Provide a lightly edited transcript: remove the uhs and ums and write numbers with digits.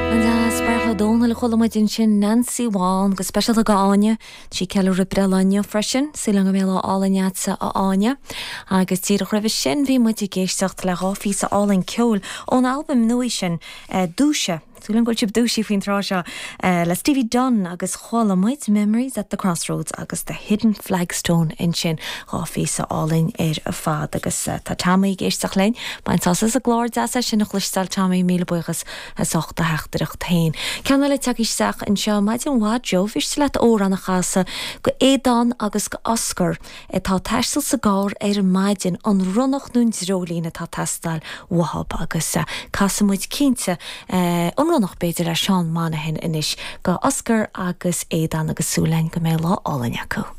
An-deas, Beartla Ó Domhnaill a chuala muid ansin, Nancy Bhán, go speisialta go Áine. Tá sí ag ceiliúradh breithlá inniu freisin. Súil agam go mbeidh lá álainn agatsa a Áine. Agus díreach roimhe sin bhí muid ag éisteacht le dhá phíosa álainn ceoil ón albam nua sin, Dúisigh. Súil agam go bhfuil sibh dúisithe faoin tráth seo le Stevie Dunne agus chuala muid Memories at the Crossroads agus The Hidden Flagstone ansin, dhá phíosa álainn ar fad. Agus tá Tommy ag éisteacht linn. Bain sásamh as an gclár, deas é sin a chloisteáil Tommy, míle buíochas as ucht do theachtaireacht féin. Ceann eile tagtha isteach anseo, Maidin mhaith Joe, mhiste leat amhrán a chasadh go Aodán agus go Oscar. atá ag taisteal sa gcarr ar maidin, an Ronnach nó an Dreoilín atá ag teastáil uathub agus casfaidh muid cinnte an Ronnach b'fhéidir le Seán Monaghan anois go Oscar agus Aodán agus súil againn go mbeidh lá álainn acu.